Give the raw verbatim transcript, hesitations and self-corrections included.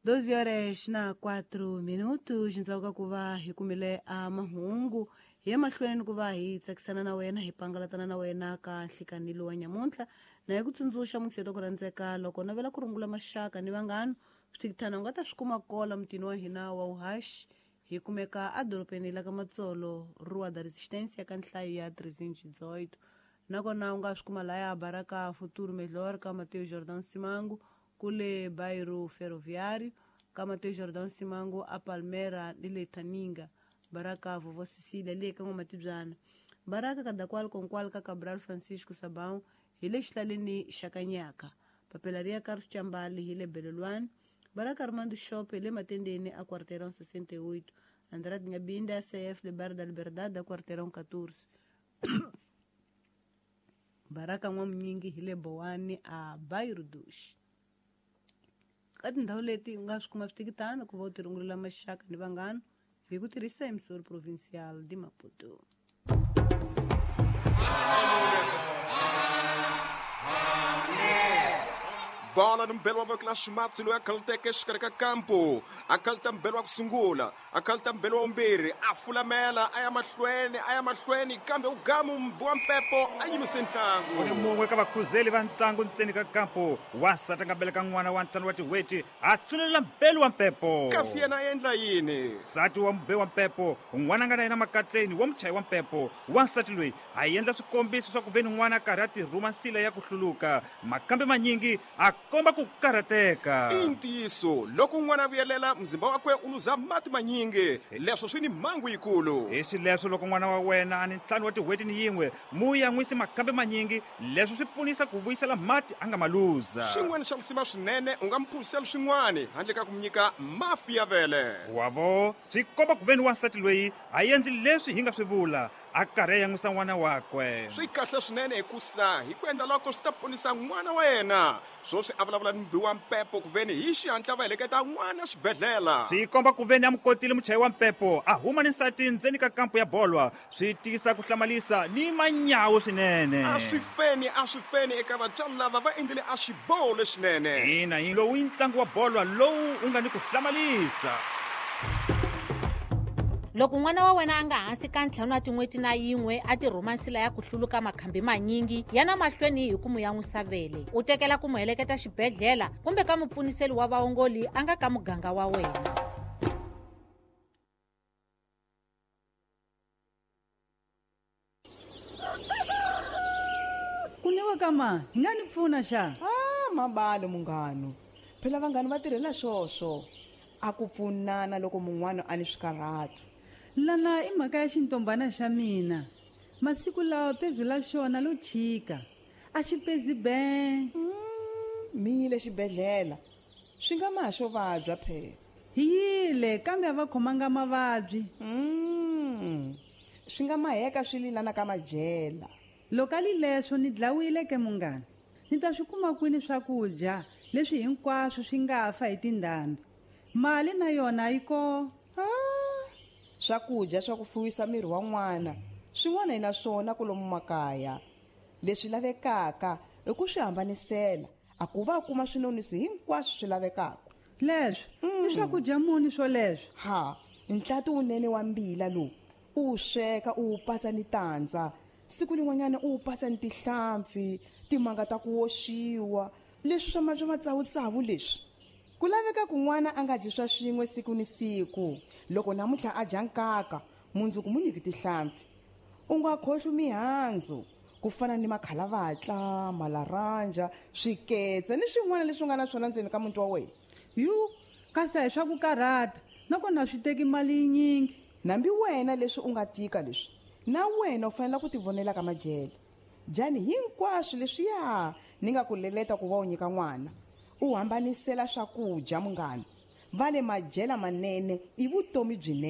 doze horas na quatro minutos ndzhaku ka ku va hi kumile a mahungu hi ya mahlweni ku va hi tsakisana na wena hi pangalatana na wena ka nhlikanilo wa nyamuntlha na hi ku tsundzuxa mutshelo ku rhandzeka loko navela ku rungula maxaka ni vanghana swithikithana u nga ta swi kuma kola mutini wa hina wa uhashi hi kumeka edorobeni la ka Matsolo Rua da Resistência ka nhlayo ya trezentos e dezoito nakona u nga swi kuma laya Baraka Futuro Melhor ka Mateo Jordão Simango kule Bairro Ferroviário ka Mateo Jordão Simango a Palmera ni le Taninga Baraka Vovó Cecília le ka N'wamatibyana Baraka Kadakwal Konkwal ka Cabral Francisco Sabão hi le xihlaleni xa Kanyaka Papelaria Carlos Chambali hi le Belelwane Baraka Armando Shop le Matendeni a Quarteirão sessenta e oito Andrade Ngabinda C F le Bar da Liberdade a Quarteirão quatorze Baraka N'wamunyingi hi le Bowani a Bairro dos ka tindhawu leti u nga swi kuma switikitana ku va u tirungulela maxaka ni vanghana hi ku tirhisa emissora provincial de Maputo. Bola ni mbelo wa voko la ximatsi loyi a khaluteke exikarhi ka kampo a khaluta mbelo wa ku sungula a khaluta mbelo wa vumbirhi a fulamela a ya mahlweni a ya mahlweni kambe u gamu mbu wa mpepo a yimise ntlangu u ni mun'we ka vakhuzeli va ntlangu ntseni ka kampo wansati a nga beleka n'wana wa ntlhanu wa tin'hweti a tsunelela mbelo wa mpepo kasi yena a endla yini nsati wa mube wa mpepo n'wana a nga na yena makatleni wa muchayi wa mpepo wansati loyi a endla swikombiso swa ku ve ni n'wana a karhi a tirhuma nsila ya ku hluluka makambe manyingi a komba ku karhateka i ntiyiso loko n'wana a vuyelela mzimba wakwe u luza mati manyingi leswo swi ni mhangu yikulu hi xileswo loko n'wana wa wena a ni ntlhanu wa tin'hweti ni yin'we mu yan'wisi makambe manyingi leswo swi pfunisa ku vuyisela mati a nga ma luza xin'wana xa lisima swinene u nga mu phuzisela swin'wana handle ka ku mu nyika mafi ya vele wavo swi komba ku ve ni wansati loyi a endli leswi hi nga swi vula a karhi a yan'wisa n'wana wakwe swi kahle swinene hikusa hi ku endla loko swi ta ponisa n'wana wa yena swoswi a vulavula ni mubi wa mpepo ku veni hi xihatla va heleketa n'wana xibedhlele swi komba ku veni a mu kotile muchayi wa mpepo a huma ni nsati ndzeni ka kampo ya bolwa swi tiyisa ku hlamalisa ni manyawu swinene a swi feni a swi feni eka vatswari lava va endlile a xiboho lexinene ina yi lowu i ntlangu wa bolwa lowu u nga ni ku hlamalisa. Loko n'wana wa wena a nga hansi ka ntlhanu wa tin'hweti na yin'we a tirhuma nsila ya ku hluluka makhambi manyingi ya na mahlweni hi ku mu yan'wisa vele u tekela ku mu heleketa xibedhlele kumbe ka mupfuniseli wa vaongoli a nga ka muganga wa wena. Kunewa kama hi nga ni pfuna xa ah mabalo munghano phela vanghani va tirhela swoswo a ku pfunana loko mun'wana a ni swikarhato lana i mhaka ya xintombana xa mina masiku lawa pezu la xona lo chika a xi pezi be mi yile xibedhlele swi nga ma xo vabya phela hi yile kambe a va khomanga mavabyi swi nga maheka swi lilana ka majela loko a li leswo ni dlawile ke munghana ni ta swi kuma kwini swakudya leswi hinkwaswo swi nga fa hi tindhambi mali na yona yi ko swakudya swa ku fuwisa miri wa n'wana swin'wana hi na swona kolomu makaya leswi lavekaka i ku swi hambanisela a ku va kuma swinonisi hinkwaswo swi lavekaka leswi i swakudya muni swoleswo ha ntlati wunene wa mbila lowu u wu sweka u wu patsa ni tandza siku lin'wanyana u wu patsa ni tihlampfi timanga ta ku woxiwa leswi swa swa matsavutsavu leswi ku laveka ku n'wana a nga dyi swa swin'we siku ni siku loko namuntlha a dya nkaka mundzuku mu nyiki tihlampfi u nga khohlwi mihandzu ku fana ni makhalavatla malaranja swiketse ni swin'wana leswi nga na swona ndzeni ka muti wa wena yu kasi a hi swa ku karhata nakona swi teki mali yinyingi nambi wena leswi u nga tika leswi na wena u fanele ku tivonela ka majele dyani hinkwaswo leswiya ni nga ku leleta ku va u nyika n'wana u hambanisela swakudya munghana va le majela manene i vutomi byinene.